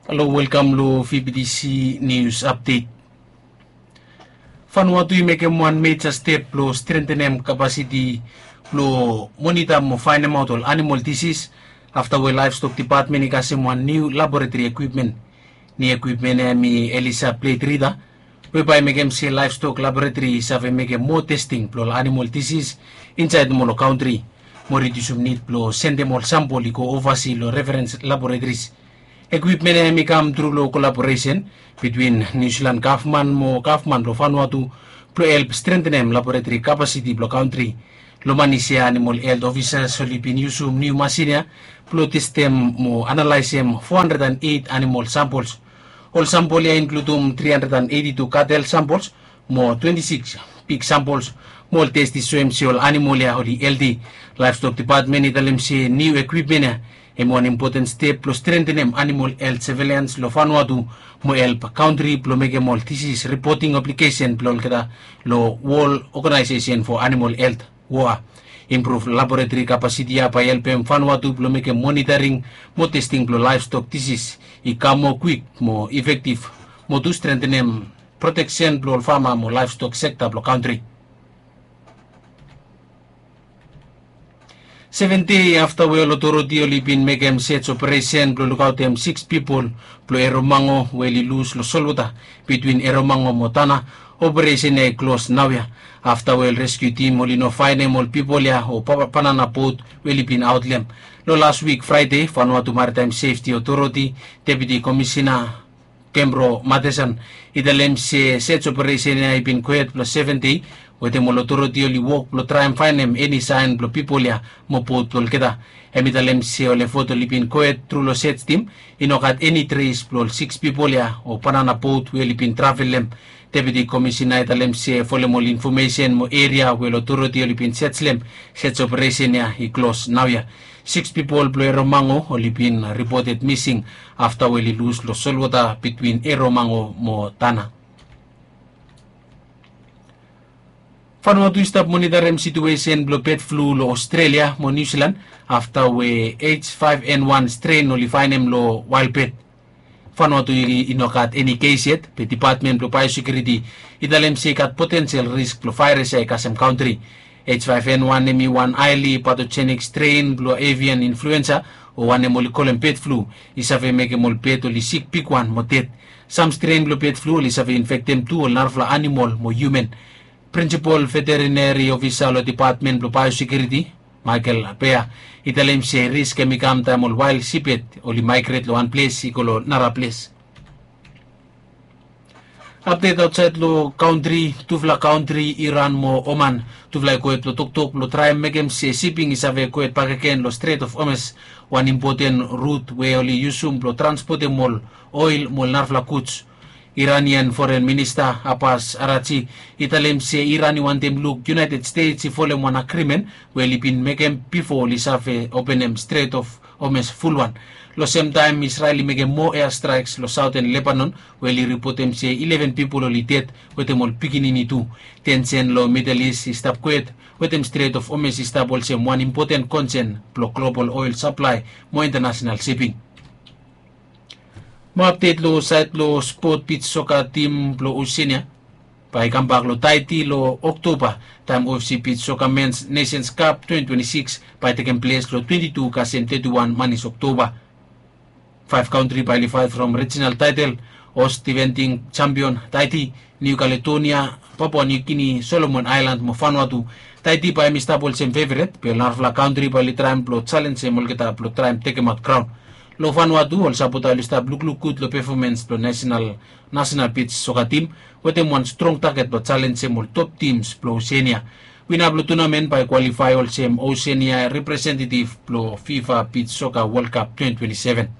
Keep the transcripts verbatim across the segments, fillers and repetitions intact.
Halo, welkam lo V B T C News Update. Vanuatu i mekem wan meja step blo strengthenem kapasiti blo monita mo faenemaot ol animal disis afta we Livestock Department i kasem wan niu laboratory equipment. Niu equipment ya hemi Elisa Plate Reader, we bae i mekem se Livestock Laboratory i save mekem moa testing blo ol animal disis insaed mo lo kantri, mo ridiusum nid blo sendem ol sampol i go ovasi lo referens laboratories. Ekwipmen ya hemi kam tru lo kolaboresen bitwin Niu Silan gavman mo gavman blo Vanuatu blo help strengthenem laboratori kapasiti blo kantri. Lo manis ya animal helt ofisas oli bin yusum niu masin ya blo testem mo analaesem fo handred an eit animal sampols. Ol sampol ya i inkludum tri handred an eiti tu katel sampols mo twenti sikis pig sampols, mo ol test i soem se ol animal ya oli helti. Laevstok depatmen i talem se niu ekwipmen ya hemi wan impoten step blo strengthenem animal helt sevelians lo Vanuatu, mo help kantri blo mekem ol disis ripoting obligesen blo olgeta lo Wol Oganaesesen fo Animal Helt, WOA. Impruv laboratori kapasiti ya bae i helpem Vanuatu blo mekem monitaring mo testing blo laevstok disis i kam moa kwik mo ifektiv, mo tu strengthenem proteksen blo ol fama mo laevstok sekta blo kantri. Seven dei afta we ol otoriti oli bin mekem sej operesen blo lukaotem siks pipol blo Eromango we oli lus lo solwota bitwin Eromango mo Tana, operesen ya i klos naoia, afta we ol reskiu tim oli no faenem ol pipol ya o banana bot we oli bin aot lo hem. Lo las wik Fraede, Vanuatu Maritaem Sefti Otoriti Deputi Komisina Kembro Matesan i talem se sej operesen ya i bin gohed blo seven dei, wetem ol otoriti oli wok blo traem faenem eni saen blo pipol ya mo bot blo olgeta. Hem i talem se ol efot oli bin gohed tru lo sej tim, i no gat eni tres blo ol siks pipol ya o banana bot we oli bin travel lo hem. Deputi Komisina i talem se folem ol infomesen mo eria we ol otoriti oli bin sej lo hem, sej operesen ya i klos naoia. Siks pipol blo Eromango oli bin ripoted mising afta we oli lus lo solwota bitwin Eromango mo Tana. Vanuatu i stap monitarem situesen blo bed flu lo Ostrelia mo Niu Silan afta we H five N one stren oli faenem lo wael bed. Vanuatu i, i no gat eni kes yet, be Depatmen blo Baeosekiuriti i talem se i gat potensel risk blo vaeras ya i kasem kantri. H five N one hemi wan haeli patojenik stren blo avian influensa, o wanem oli kolem bed flu, i save mekem ol bed oli sik bigwan mo ded. Sam stren blo bed flu oli save infektem tu ol narafala anamol mo hiuman. Prinsipol veterineri ofisa lo Depatmen blo Baeosekiuriti, Michael Bea, i talem se risk hemi kam taem ol wael siped oli maegret lo wan ples i go lo nara ples. Apdet aotsaed lo kantri, tufala kantri Iran mo Oman, tufala i gohed blo toktok blo traem mekem se siping i save gohed bakegen lo Strait of Hormuz, wan impoten rut we oli yusum blo transpotem ol oel mo ol narafala guds. Iranian Foren Minista Abbas Arachi i talem se Iran i wantem luk United States i folem wan agrimen we oli bin mekem bifo oli save openem Strait of Hormuz fulwan. Lo semtaem Israel i mekem moa airstrikes lo saoten Lebanon we oli ripotem se ileven pipol oli ded wetem ol pikinini tu. Tensen lo Middle East i stap gohed wetem Strait of Hormuz i stap olsem wan impoten konsen blo global oel saplae mo intanasenal siping. Mo apdet lo saed lo spot bij soka tim blo Oseania bae i kambak lo Taiti lo Oktoba, taem O F C bij soka Men's Nations Cup twenty twenty-six bae i tekem ples lo twenty-two kasem thirty-one manis Oktoba. Faef kantri bae oli faet from rijinal taetel, host defending champion Taiti, Niu Kaledonia, Papua Niu Gini, Solomon Aelan mo Vanuatu. Taiti bae hemi stap olsem feveret, be ol narafala kantri bae oli traem blo jalenjem olgeta blo traem tekemaot graon. Lo Vanuatu ol sapota oli stap lukluk gud lo pefomens blo nasenal, nasenal bij soka tim, wetem wan strong taget blo jalenjem ol top tims blo Oseania. Wina blo tunamen bae i kwalifae olsem Oseania representetiv blo FIFA Bij Soka World Cup twenty twenty-seven.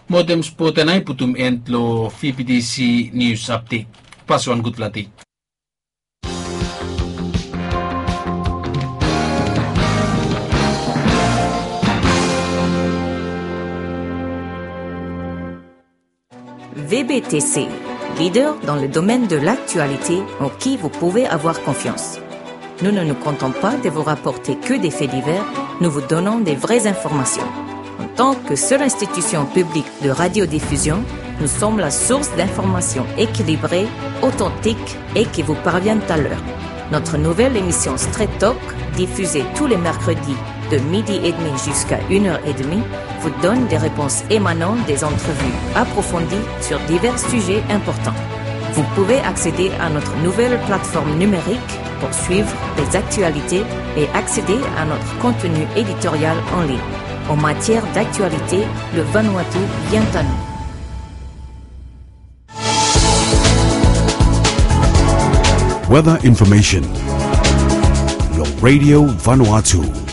Mo wetem spot ya nao i putum en lo V B T C News Update. Paswan gudfala dei. V B T C, leader dans le domaine de l'actualité en qui vous pouvez avoir confiance. Nous ne nous contentons pas de vous rapporter que des faits divers, nous vous donnons des vraies informations. En tant que seule institution publique de radiodiffusion, nous sommes la source d'informations équilibrées, authentiques et qui vous parviennent à l'heure. Notre nouvelle émission Straight Talk, diffusée tous les mercredis de midi et demi jusqu'à une heure et demie, vous donne des réponses émanant des entrevues approfondies sur divers sujets importants. Vous pouvez accéder à notre nouvelle plateforme numérique pour suivre les actualités et accéder à notre contenu éditorial en ligne. En matière d'actualité, le Vanuatu vient à nous. Weather information. Lo Radio Vanuatu.